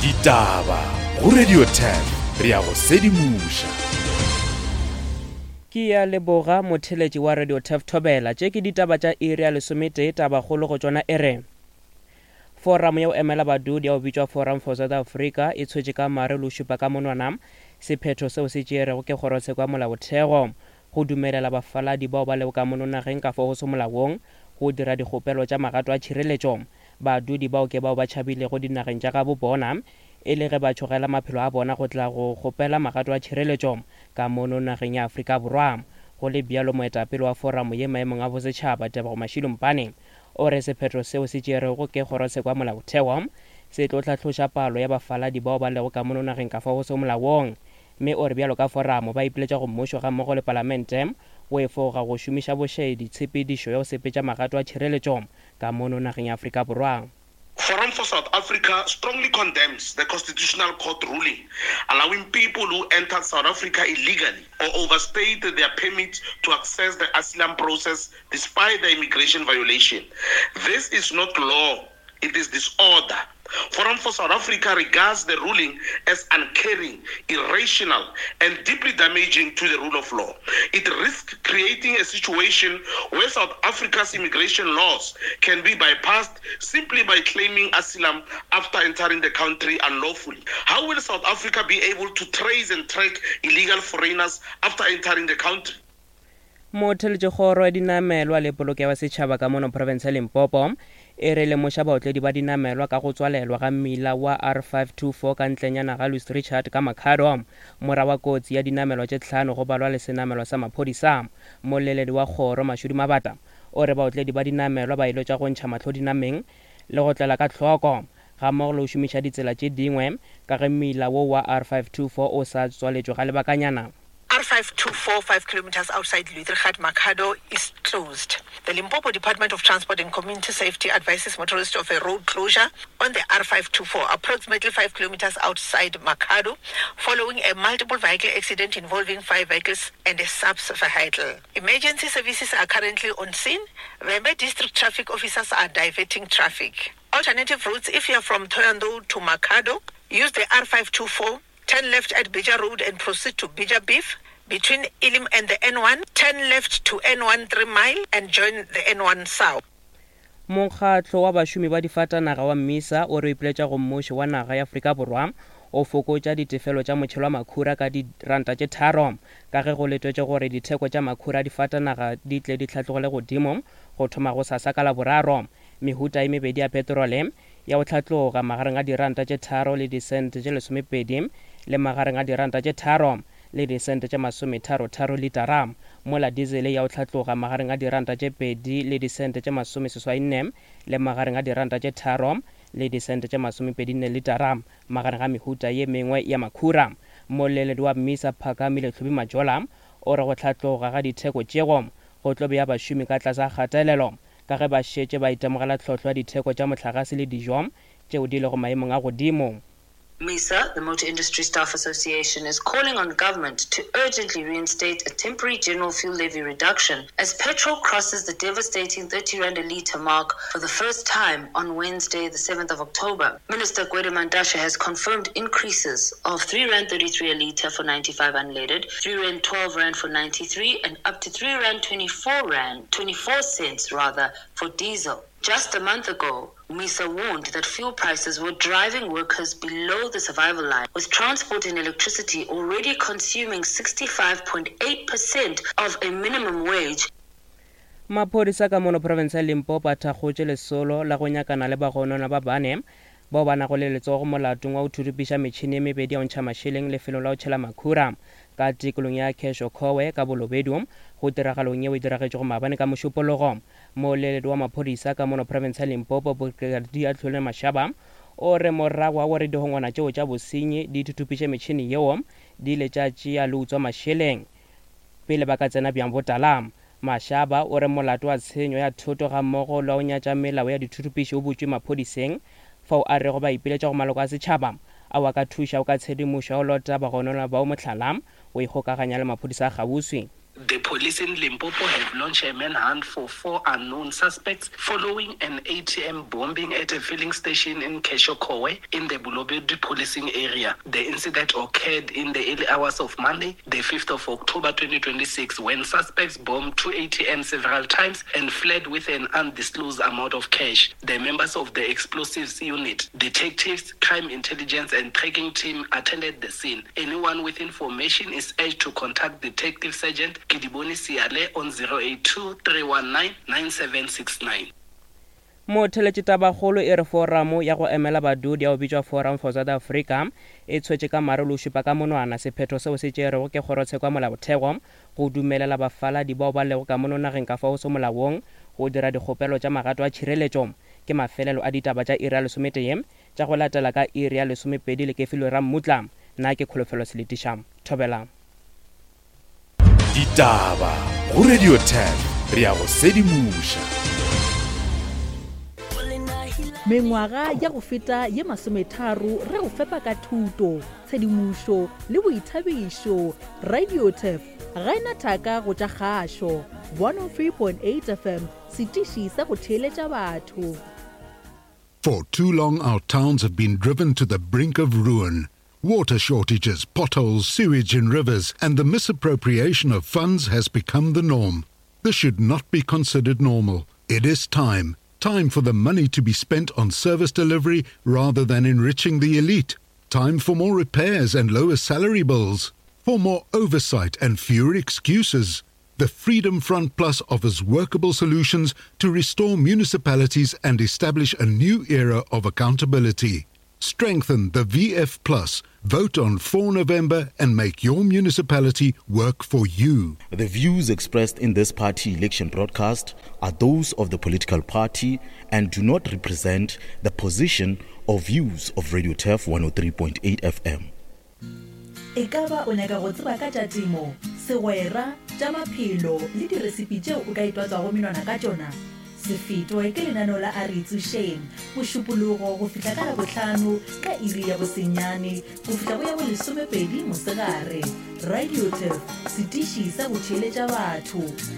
Ditaba go Radio 10 re a go sedimoša. Ke ya leboga motheletši wa Radio Turf Thobela. Tše ke ditaba tša iri ya lesometee, tabakgolo go tšona e re Foramo ya go emela badudi ya go bitšwa Forum for South Africa e tshwetše ka mare le go šupa ka monwana sephetho seo se tšeerego ke kgorotsheko ya molaotheo go dumelela bafaladi bao ba lego ka mono nageng ka fao go se molaong go dira dikgopelo tša magato a tšhireletšo. Badudi bao ke bao ba tšhabilego dinageng tša gabo bona e le ge ba tšhogela maphelo a bona go tla go kgopela magato a tšhireletšo ka mono nageng ya Afrika Borwa. Go le bjalo, moetapele wa foramo ye maemong a bosetšhaba, Tebogo Mashilo Mpane, o re sephetho seo se tšerwego ke Kgorotsheko ya Molaotheo se tlo hlatloša palo ya bafaladi bao ba lego ka mono nageng ka fao go sego molaong mme o re bjalo ka foramo ba ipiletša go mmušo gammogo le palamente go efoga go šomiša bošaedi tshepedišo ya go sepetša magato a tšhireletšo ka mono nageng ya Afrika Borwa. Forum for South Africa strongly condemns the Constitutional Court ruling allowing people who entered South Africa illegally or overstayed their permits to access the asylum process despite the immigration violation. This is not law, it is disorder. Forum for South Africa regards the ruling as uncaring, irrational, and deeply damaging to the rule of law. It risks creating a situation where South Africa's immigration laws can be bypassed simply by claiming asylum after entering the country unlawfully. How will South Africa be able to trace and track illegal foreigners after entering the country? Motheletšekgoro ya dinamelwa le polokego ya setšhaba ka mono profense ya Limpopo e re lemoša baotledi ba dinamelwa ka go tswalelwa ga mmila wa R524 ka ntlenyana ga Louis Richard ka Makhado morago ga kotsi ya dinamelwa tše tlhano go balwa le senamelwa sa maphodisa. Moleledi wa kgoro Mashudu Mabata o re baotledi ba dinamelwa ba iletšwa go ntšha mahlo dinameng le go tlela ka hloko gammogo le go šomiša ditsela tše dingwe ka ge mmila wo wa R524 o sa tswaletšwe ga lebakanyana. R524 5 kilometers outside Luitrigat Makhado is closed. The Limpopo Department of Transport and Community Safety advises motorists of a road closure on the R524 approximately 5 kilometers outside Makhado following a multiple vehicle accident involving five vehicles and a subs vehicle. Emergency services are currently on scene. Vhembe district traffic officers are diverting traffic. Alternative routes if you are from Thohoyandou to Makhado, use the R524 Turn left at Bija Road and proceed to Bija Beef between Elim and the N1. Turn left to N1 3 Mile and join the N1 South. Mokgatlo wa bašomi ba difatanaga wa Mmisa o re o ipiletša go mmušo wa naga ya Afrika Borwa o fokotša ditefelo tša motšhelo wa makhura ka diranta tše tharo ka ge go letetšwe gore ditheko tša makhura a difatanaga di tle di hlatlogele godimo go thoma gosasa ka Laboraro. Mehuta e mebedi ya petrole ya go hlatloga magareng a diranta tše tharo le disente tše lesomepedi le magareng a diranta tše tharo le disente tše masometharotharo litara, mola dizele ya go hlatloga magareng a diranta tše pedi le disente tše masomeseswainne le magareng a diranta tše tharo le disente tše masomepedinne litara, magareng ga mehuta ye mengwe ya makhura. Moleledi wa Mmisa Phakamile Hlubi Majola o re go hlatloga ga ditheko tšego go tlo bea bašomi ka tlase ga kgatelelo ka ge ba šetše ba itemogela tlhohlo ya ditheko tša mohlagase le dijo tšeo di lego maemong a godimo. MISA, the Motor Industry Staff Association, is calling on government to urgently reinstate a temporary general fuel levy reduction as petrol crosses the devastating 30 rand a litre mark for the first time on Wednesday, the 7th of October. Minister Gwede Mantashe has confirmed increases of 3 rand 33 a litre for 95 unleaded, 3 rand 12 rand for 93, and up to 3 rand 24 rand 24 cents rather for diesel. Just a month ago, MISA warned that fuel prices were driving workers below the survival line, with transport and electricity already consuming 65.8% of a minimum wage. Maphodisa ka mono profense ya Limpopo a thakgotše lesolo la go nyakana le bagononwa ba bane bao ba nago le letsogo molatong wa go thurupiša metšhene ye mebedi ya go ntšha mašeleng lefelong la go tšhela makhura ka tikolong ya Khesho-Khowe ka Bolobedu go tiragalong yeo e diragetšego maabane ka Mošupologo. Mooleledi wa maphodisa ka mono profense ya Limpopo Brigadier Tlhole Mashaba o re morago ga gore dihongwana tšeo tša bosenyi di thuthupiše metšhene yeo di ile tša tšea le utswa mašeleng pele ba ka tsena bjang botala. Mashaba o re molato wa tshenyo ya thoto gammogo le wa go nyatša melao ya dithuthupiši o butšwe maphodiseng fao a rego ba ipiletša go maloko a setšhaba ao a ka thušago ka tshedimošo ya go lota bagononwa bao mohlala go ikgokaganya le maphodisa a kgauswi. The. Police in Limpopo have launched a manhunt for four unknown suspects following an ATM bombing at a filling station in Keshokowe in the Bolobedu policing area. The incident occurred in the early hours of Monday, the 5th of October 2026, when suspects bombed two ATMs several times and fled with an undisclosed amount of cash. The members of the explosives unit, detectives, crime intelligence, and tracking team attended the scene. Anyone with information is urged to contact Detective Sergeant Kidiboni Siale on 082 319 9769. Motheletši Tabakgolo e re foramo ya go emela badudi ya go bitšwa Forum for South Africa e tshwetše ka mare le go šupa ka monwana sephetho seo se tšerwego ke kgorotsheko ya molaotheo go dumelela bafaladi bao ba lego ka mono nageng ka fao se molaong go dira dikgopelo tša magato a tšhireletšo. Ke mafelelo a ditaba tša iri ya lesometee tša go latela ka iri ya lesomepedi le kefilwe Rammutla. Nna ke Kholofelo Seletiša. Thobela. Ditaba go Radio 10 re ya go sedimoša. Mengwaga ya go feta ye masometharo re go fepa ka thuto, tshedimošo le boithabišo. Radio Turf ga e na thaka go tša kgašo. 103.8 FM, setiši sa go theeletša batho. For too long our towns have been driven to the brink of ruin. Water shortages, potholes, sewage in rivers, and the misappropriation of funds has become the norm. This should not be considered normal. It is time. Time for the money to be spent on service delivery rather than enriching the elite. Time for more repairs and lower salary bills. For more oversight and fewer excuses. The Freedom Front Plus offers workable solutions to restore municipalities and establish a new era of accountability. Strengthen the VF Plus. Vote on 4 November and make your municipality work for you. The views expressed in this party election broadcast are those of the political party and do not represent the position or views of Radio Turf 103.8 FM. Ekaba o nyaka go tseba ka tša temo, segwera, tša maphelo le diresipi tšeo o ka itwatswago menwana ka tšona? Se fetwe ke lenaneo la A Re Itsošeng, Mošupologo go fihla ka Labohlano ka iri ya bosenyane go fihla go ya bolesomepedi mosegare. Radio Turf, setiši sa go theeletša batho.